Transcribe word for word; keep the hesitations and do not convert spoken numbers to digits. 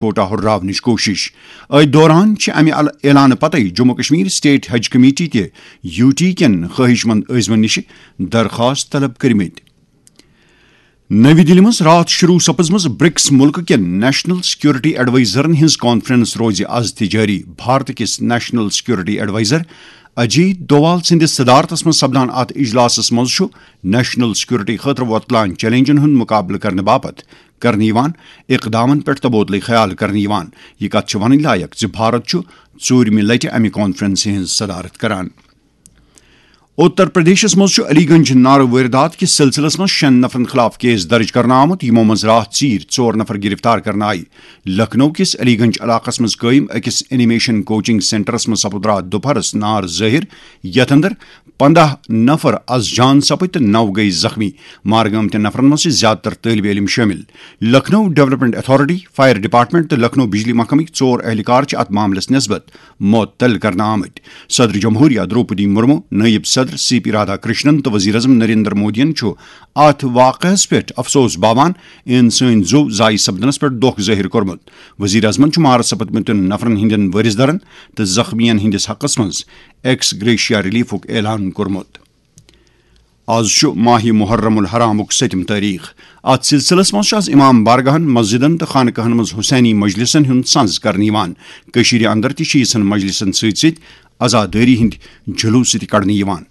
کوٹا ہُرراونٕچ کوٗشِش۔ أتھۍ دوران چھِ اَمہِ ال-، اعلانہٕ پتَے جموں کشمیر اسٹیٹ حج کمیٹی تہِ یوٗ ٹی کٮ۪ن خٲہِش مند عٲزمَن نِش درخواست طلب کٔرمٕتۍ۔ نٔوی دِلہِ منٛز راتھ شروع سپٕزمٕژ برکس مُلکہٕ کٮ۪ن نیشنل سیکورٹی ایڈوائزرن ہٕنٛز کانفرنس روزِ از تہِ جٲری۔ بھارت کِس نیشنل سیکورٹی ایڈوائزر اجیت دووال سٕنٛدِس صدارتس منٛز سپدان اتھ اجلاسس منٛز چھُ نیشنل سیکورٹی خٲطرٕ وۄتلان چیلنجن ہُنٛد مقابلہٕ کرنہٕ باپتھ کرنہٕ یِوان اقدامن پٮ۪ٹھ تبادلہٕ خیال کرنہٕ یِوان۔ یہِ کتھ چھِ ونٕنۍ لایق زِ بھارت چھُ ژوٗرمہِ لٹہِ امہِ کانفرنسہِ ہٕنٛز صدارت کران۔ اتر پردیشس منٛز چھُ علی گنج نارٕ وٲردات کِس سلسلس منٛز شٮ۪ن نفرن خلاف کیس درج کرنہٕ آمُت، یِمو منٛز راتھ ژیٖرۍ ژور نفر گرفتار کرنہٕ آیہِ۔ لکھنؤ کِس علی گنج علاقس منٛز قٲیِم أکِس انیمیشن کوچنگ سینٹرس منٛز سپُد راتھ دُپہرس نار ظٲہِر، یتھ اندر پنداہ نفر از جان سپٕدۍ تہٕ نو گٔیہِ زخمی۔ مارٕ گٲمتٮ۪ن نفرن منٛز چھِ زیادٕ تر طٲلبہِ علم شٲمِل۔ Lucknow development authority, fire department تہٕ لکھنؤ بجلی محکمٕکۍ ژور اہلکار چھِ اتھ معاملس نسبت معطل کرنہٕ آمٕتۍ۔ صدر جمہوریہ درٛوپدی مرمو، نٲیِب صدر سی پی رادھا کرشنن تہٕ وزیر اعظم نریندر مودیَن چھُ اتھ واقعس پٮ۪ٹھ افسوس باوان انسٲنی زُو ضایع سپدنس پٮ۪ٹھ دۄکھ ظٲہِر کوٚرمُت۔ وزیر اعظمن چھُ مارٕ سپدمٕتٮ۪ن نفرن ہٕنٛدٮ۪ن وٲرث دارن تہٕ زخمیَن ہٕنٛدِس حقس منٛز ایکس گریشیا ریلیفُک اعلان کوٚرمُت۔ آز چھُ ماہِ محرم الحرامُک سٔتِم تٲریخ۔ اتھ سلسلس منٛز چھُ آز امام بارگاہن، مسجدن تہٕ خانقاہن منٛز حسینی مجلسن ہُنٛد سنز کرنہٕ یِوان۔ کٔشیٖرِ اندر تہِ چھِ یِژھن مجلسن سۭتۍ سۭتۍ عزادٲری ہٕنٛدۍ جلوٗس تہِ کڑنہٕ یِوان۔